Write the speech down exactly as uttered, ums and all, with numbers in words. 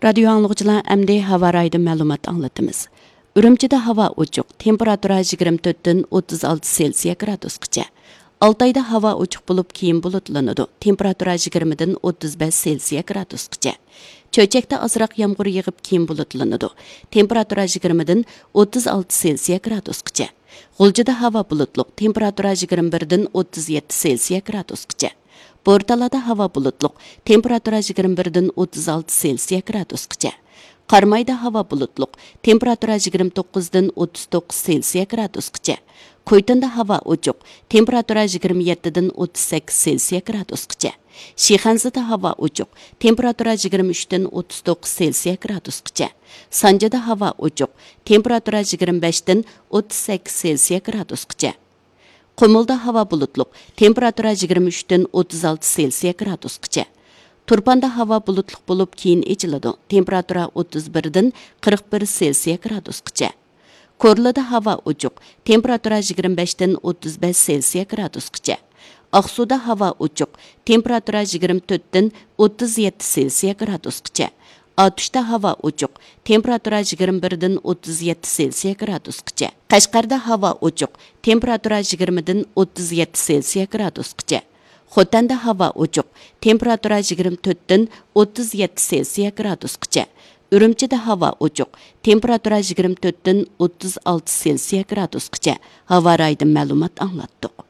رادىيو ئاڭلىغۇچىلار، ئەمدى ھاۋا رايىدىن مەلۇمات ئاڭلىتىمىز. ئۈرۈمچىدە ھاۋا ئوچۇق، تېمپېراتۇرا يىگىرمە تۆتتىن ئوتتۇز ئالتە سېلسىيە گرادۇسقىچە. ئالتايدا ھاۋا ئوچۇق بولۇپ، كېيىن بۇلۇتلىنىدۇ، تېمپېراتۇرا يىگىرمىدىن ئوتتۇز بەش سېلسىيە گرادۇسقىچە. چۆچەكتە ئازراق يامغۇر يېغىپ، كېيىن بۇلۇتلىنىدۇ، تېمپېراتۇرا يىگىرمىدىن ئوتتۇز ئالتە سېلسىيە گرادۇسقىچە. غۇلجىدا ھاۋا بۇلۇتلۇق، تېمپېراتۇرا يىگىرمە بىردىن ئوتتۇز يەتتە سېلسىيە گرادۇسقىچە. بورتالادا ھاۋا بۇلۇتلۇق، تېمپېراتۇرا يىگىرمە بىردىن ئوتتۇز ئالتە سېلسىيە گرادۇسقىچە. قارامايدا ھاۋا بۇلۇتلۇق، تېمپېراتۇرا يىگىرمە توققۇزدىن ئوتتۇز توققۇز سېلسىيە گرادۇسقىچە. كويتۇندا ھاۋا ئوچۇق، تېمپېراتۇرا يىگىرمە يەتتىدىن ئوتتۇز سەككىز سېلسىيە گرادۇسقىچە. شىخەنزىدە ھاۋا ئوچۇق، تېمپېراتۇرا يىگىرمە ئۈچتىن ئوتتۇز توققۇز سېلسىيە گرادۇسقىچە. سانجىدا ھاۋا ئوچۇق، تېمپېراتۇرا يىگىرمە بەشتىن ئوتتۇز سەككىز سېلسىيە گرادۇسقىچە. قۇمۇلدا ھاۋا بۇلۇتلۇق، تېمپېراتۇرا يىگىرمە ئۈچتىن ئوتتۇز ئالتە سېلسىيە گرادۇسقىچە. تۇرپاندا ھاۋا بۇلۇتلۇق بولۇپ، كېيىن ئېچىلىدۇ، تېمپېراتۇرا ئوتتۇز بىردىن قىرىق بىر سېلسىيە گرادۇسقىچە. كورلىدا ھاۋا ئوچۇق، تېمپېراتۇرا يىگىرمە بەشتىن ئوتتۇز بەش سېلسىيە گرادۇسقىچە. ئاقسۇدا ھاۋا ئوچۇق، تېمپېراتۇرا يىگىرمە تۆتتىن ئوتتۇز يەتتە سېلسىيە گرادۇسقىچە. ئاتۇشتا ھاۋا ئوچۇق، تېمپېراتۇرا يىگىرمە بىردىن ئوتتۇز يەتتە سېلسىيە گرادۇسقىچە. قەشقەردە ھاۋا ئوچۇق، تېمپېراتۇرا يىگىرمىدىن ئوتتۇز يەتتە سېلسىيە گرادۇسقىچە. خوتەندە ھاۋا ئوچۇق، تېمپېراتۇرا يىگىرمە تۆتتىن ئوتتۇز يەتتە سېلسىيە گرادۇسقىچە. ئۈرۈمچىدە ھاۋا ئوچۇق، تېمپېراتۇرا يىگىرمە تۆتتىن ئوتتۇز ئالتە سېلسىيە گرادۇسقىچە. ھاۋا رايىدىن مەلۇمات ئاڭلاتتۇق.